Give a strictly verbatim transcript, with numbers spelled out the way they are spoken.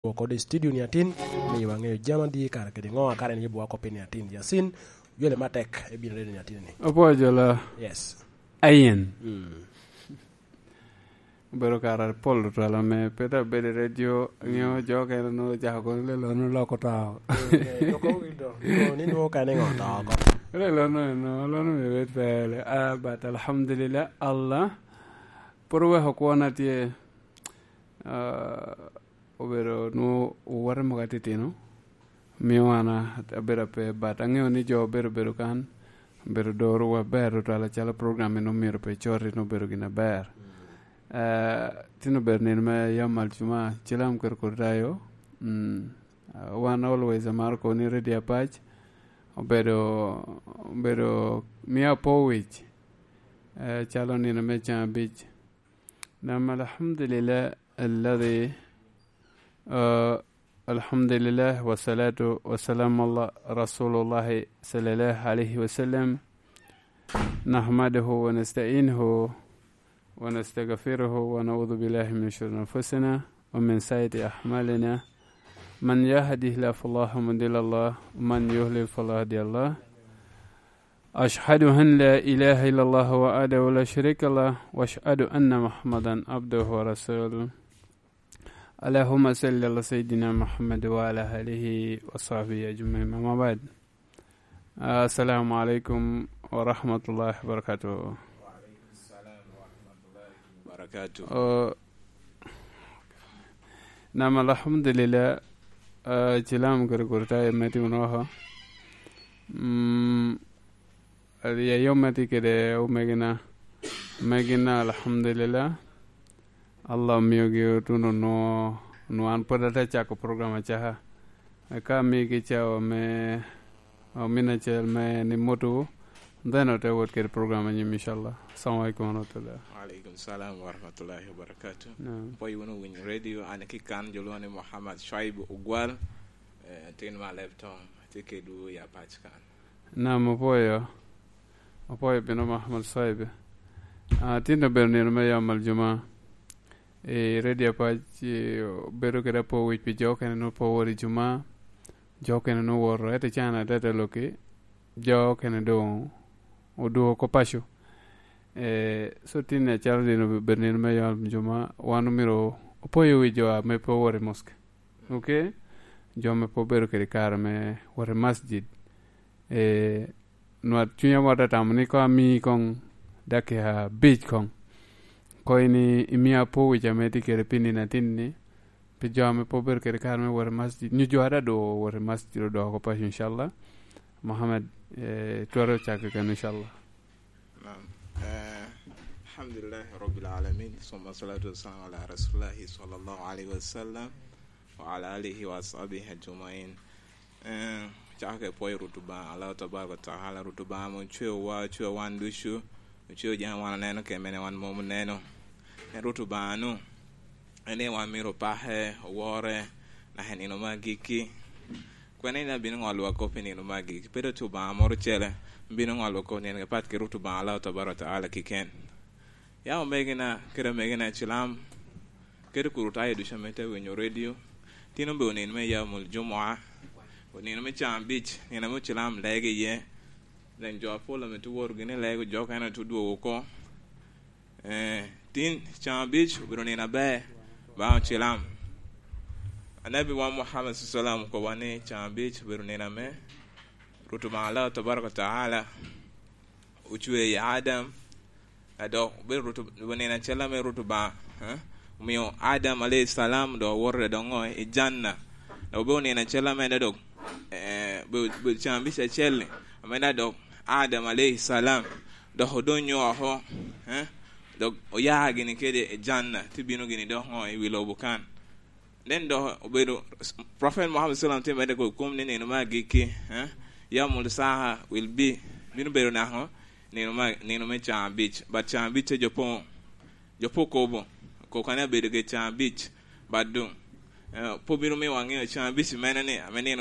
Wok kodi i studio ni atin, miyo waŋeyo jami adi kara kede ŋo a kara en yubwa kop ni atin. Yasin, ywele matek, ebino redo ni atin ni. Apwoyo jola. Yes. Ayen. Mm. Obedo kara pol tutwal ame pe dok bedo i redio, ŋeo jo okene nwoŋo ocako kono lelo nwoŋo loko to. Eh, loko wi do. Nwoŋo ni nwoŋo kene ŋo to oko. Lelo nwoŋo, nwoŋo, lelo nwoŋo bed pele. Ah, but alhamdulillah, Allah pwod oweko kwona tye. Ah, obedo nwoŋo owote mogo atitino, mio an a-, abedo ape, but aŋeo ni jo obedo bedo kan, obedo dorowa ber tutwal acalo program en omyero pe coti, en obedo gin aber. Eh, tin obedo nino me yam Aljuma, cilam kede kodi tayo, mm, ah, wan always amaro kobo ni Radio Apac obedo, obedo mio apo wic, eh, calo nino me can abic. Nam, alhamdulillah, alladhi, ah, alhamdulillah, wassalatu wassalamu ala Rasulillahi sallallahu alaihi wasallam. Nahmaduhu wa nasta'inuhu wa nastaghfiruhu wa na'udhu billahi min shururi anfusina wa min sayyiati a'malina. Man yahdihillahu fala mudilla lahu, wa man yudlil fala hadiya lahu. Ashhadu an la ilaha illallah wahdahu la sharika lah, wa ashhadu anna Muhammadan abduhu wa rasuluh. Allahumma salli ala Sayyidina Muhammad wa ala alihi wa sahbihi ajma'in. Amma ba'd. Assalamu alaikum wa rahmatullahi wa barakatuh. Barakatuh. Oh, nam, alhamdulillah, ah, cilam kede kodi tayo me timo woko. Mm, ya yom me tye kede omegina, omegina, alhamdulillah. Allah omiogi otuno nwo, nwo an pwod ate cako program acaka. Eka amigi cawa me, ah, min acel me ni moto, then ote wot kede program anyim, inshallah. Assalamu alaikum warahmatullah. Wa alaikum salam warahmatullahi wabarakatuh. Naam. Apwoyo wunu winyo radio, an ki kan jo lwongo ni Muhammad Shuaib Ogwal, eh, tin me Aleb Town, atye kedwu i Apac kan. Nam, apwoyo. Apwoyo bino Muhammad Shuaib. Ah, tin obedo nino me yam Aljuma. I Radio Apac, eh, obedo kede apo wic pi jo okene nwoŋo pe owoto i Juma, jo okene nwoŋo owoto, ento i can adada loki, jo okene doŋ odwogo oko paco. Eh, so tin acalo nino obedo nino me yam Aljuma, wan omyero opoyo wi jo ame pe owoto i moske. Ok? Jo ame pe obedo kede kare me wot i masjid. Eh, nwa-, cunya mot atamo ni koŋ ami koŋ dakika abic koŋ. Koŋ ini-, imia apo wic ame tye kede pi nino atin-ni, pi jo ame pe obedo kede kare me wot i masjid, nyo jo a daŋ doŋ owot i masjid odoko paco, inshallah. Muhammad, eh, twero cako keken, inshallah. Naam. Eh, alhamdulillahi rabbil alamin, summa salatu wassalamu ala rasulillahi sallallahu alaihi wasallam, wa ala alihi wa ashabihi ajmain. Eh, cako ka pwoyo Rwot Obaŋa, Allah tabaraka wa taala, Rwot Obaŋa ame ocweowa, ocweo wan ducu, ocweo jami wan oneno kede mene wan mom oneno. En Rwot Obaŋa-nu, en aye wan myero opake, owore, naka i nino me agikki. Kwene en abino ŋolowa kop i nino me agikki? Pe doŋ tye Obaŋa moro ocele bino ŋolowa kop i nino, apat kede Rwot Obaŋa Allah tabaraka wa taala keken. Ya omegina kede omegina cilam, kede kuru tayo ducu ame te winyo redio. Tin obedo nino me yam Aljumua, nino me can abic, nino ame ocilam lege iye. Then jo apol ame tye woro gini lego, jo okene tye dwogo oko. Eh, tin can abic obedo nino aber baŋ ocilam. Anabi wa Muhammad sallallahu alaihi wasallam okobo ni can abic obedo nino ame Rwot Obaŋa Allah tabaraka wa taala ocweo iye Adam, a dok obedo Rwot Ob-, obedo nino acel ame Rwot Obaŋa, eh, omio Adam alaihi salam dok owoto i doŋ ŋo? I Janna. Dok obedo nino acel ame en dok, eh, obedo, obedo can abic acel-li, ame en dok Adam alaihi salam dok odonyo oko, eh, dok oya gini kede i Janna, te bino gini dok ŋo? I wi lobo kan. Then dok obedo, Prophet Muhammad sallallahu alaihi wasallam tye medde kede kom ni nino me agikki, eh, Yaumul Saha will be, bino bedo naka ŋo? Nino me, nino me can abic. But can abic-ce jo pe, jo pe okobo, okobo kadi abedo kede can abic. But doŋ, eh, pe obino miyo waŋeo can abic mene ni, ame nino